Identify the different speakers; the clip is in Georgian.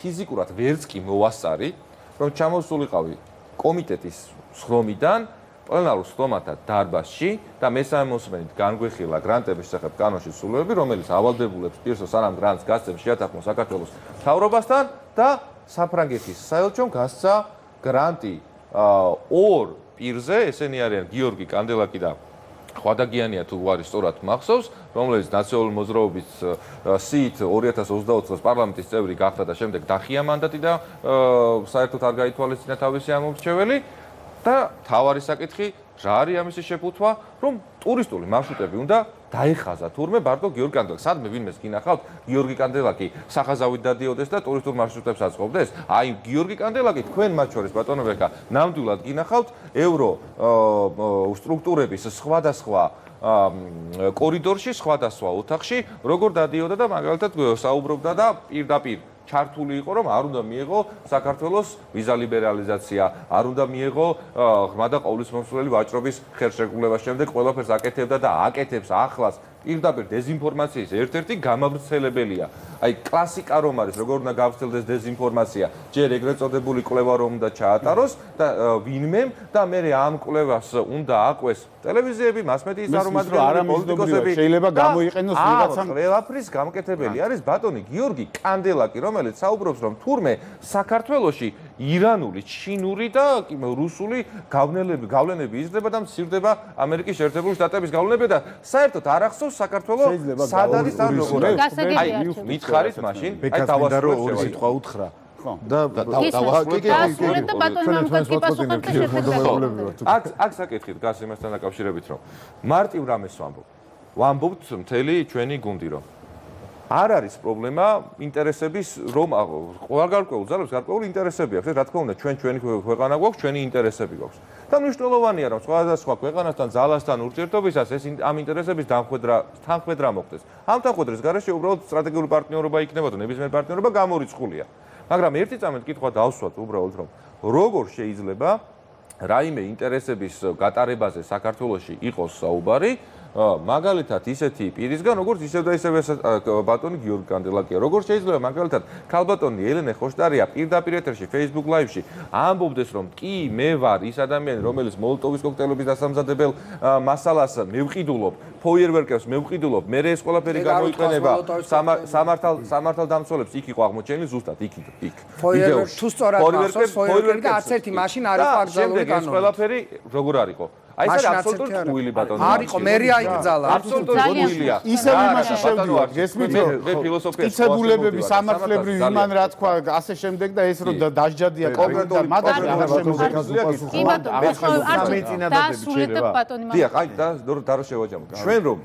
Speaker 1: ფიზიკურად ვერც კი მოვასწარი, რომ ჩამოსულიყავი კომიტეტის სხდომიდან პლენარულ სხდომათა დარბაზში და მესამე მოსმენით განგვეხილა გრანტების შესახებ კანონში სრულებები, რომელიც ავალდებულებს პირს სანამ გრანტს გასცემს შეათანხმოს საქართველოს მთავრობასთან და საფრანგეთის საელჩომ გასცა გრანტი ორ პირზე, ესენი არიან გიორგი კანდელაკი და ხვადაგიანია თუ არის სწორად მახსოვს, რომელიც ნაციონალური მოძრაობის სიით 2024 წელს პარლამენტის წევრი გახდა და შემდეგ დახია მანდატი და საერთოდ არ გაითვალისწინა თავისი ამომრჩეველი და თავარი საკითხი რა არის ამისი შეფუთვა, რომ ტურისტული მარშრუტები უნდა დაეხაზა თურმე ბარდო გიორგი კანდელაკი. სადმე ვინმეს გინახავთ, გიორგი კანდელაკი სახაზავით დადიოდეს და ტურისტულ მარშრუტებს აწყობდეს. აი გიორგი კანდელაკი თქვენ მათ შორის ბატონო ვერკა ნამდვილად გინახავთ ევრო სტრუქტურების სხვადასხვა კორიდორში, სხვადასხვა ოთახში, როგორ დადიოდა და მაგალითად საუბრობდა და პირდაპირ ჩართული იყო, რომ არ უნდა მიეღო საქართველოს ვიზა ლიბერალიზაცია, არ უნდა მიეღო ღრმა და ყოვლისმომსვლელი ვაჭრობის ხელშეკრულება, შემდეგ ყველაფერს აკეთებდა და აკეთებს ახლას. პირდაპირ დეზინფორმაციის ერთ-ერთი გამავრცელებელია. აი კლასიკა რომ არის, როგორ უნდა გავრცელდეს დეზინფორმაცია, ჯერ ეგრეთ წოდებული კვლევა რომ უნდა ჩაატაროს და ვინმემ და მე ამ კვლევას უნდა აკვეს ტელევიზიები, მასმედიის წარმომადგენლები, პოლიტიკოსები.
Speaker 2: შეიძლება გამოიყენოს ვიღაცამ.
Speaker 1: ყველაფრის გამკეთებელი არის ბატონი გიორგი კანდელაკი, რომელიც საუბრობს, რომ თურმე საქართველოში ირანული, ჩინური და რუსული გავლენები იზრდება და მცირდება ამერიკის შეერთებული შტატების გავლენები და საერთოდ არ ახსოვს საქართველოს სად არის და როგორ არის. აი მითხარით მაშინ, აი დავასრულებ
Speaker 2: ორი სიტყვა უთხრა. ხო. და
Speaker 1: აქ საკითხი დგას იმასთან დაკავშირებით, რომ მარტივ რამეს ვამბობ. ვამბობთ მთელი ჩვენი გუნდი, რომ არ არის პრობლემა ინტერესების, რომ გარკვეულ ძალებს გარკვეული ინტერესები აქვს. რა თქმა უნდა, ჩვენი ქვეყანა გვაქვს, ჩვენი ინტერესები გვაქვს. და მნიშვნელოვანია, რომ სხვადასხვა ქვეყანასთან, ძალასთან ურთიერთობისას ეს ამ ინტერესების თანხმედრა მოხდეს. ამ თანხმედრის გარეშე უბრალოდ სტრატეგიული პარტნიორობა იქნება თუ ნებისმიერი პარტნიორობა გამორიცხულია. მაგრამ ერთი წამით კითხვა დავსვათ უბრალოდ, რომ როგორ შეიძლება რაიმე ინტერესების გატარებაზე საქართველოში იყოს საუბარი, მაგალითად ისეთი პირისგან, როგორც ისევ და ისევ ბატონი გიორგი კანდელაკია. როგორ შეიძლება მაგალითად ქალბატონი ელენე ხოშტარია პირდაპირ ეთერში Facebook Live-ში ამბობდეს, რომ კი მე ვარ ის ადამიანი, რომელიც მოლოტოვის კოქტეილების დასამზადებელ მასალას მევყიდულობ, ფოიერვერკებს მევყიდულობ, მე ეს ყველაფერი გამოიყენება სამართალ დამცველებს იქ იყო აღმოჩენილი ზუსტად იქ.
Speaker 3: ფოიერვერკი თუ სწორად მახსოვს, ფოიერვერკი არც ერთი მაშინ არ იყო აკრძალული
Speaker 1: კანონი. ეს ყველაფერი როგორ არისო? აი ეს აბსოლუტურად ტყუილი ბატონო.
Speaker 3: არისო, მერე აიკრძალა.
Speaker 1: აბსოლუტურად ტყუილია.
Speaker 2: ისევ იმაში შევდივართ, გესმით რომ მტკიცებულებები, სამართლებრივი იმან რა თქვა, ასე შემდეგ და ეს რომ დასჯადია კონკრეტულად მაგალითად არ შემოგვიყვანს.
Speaker 1: დიახ, აი და რა შევაჯამოთ. ჩვენ რომ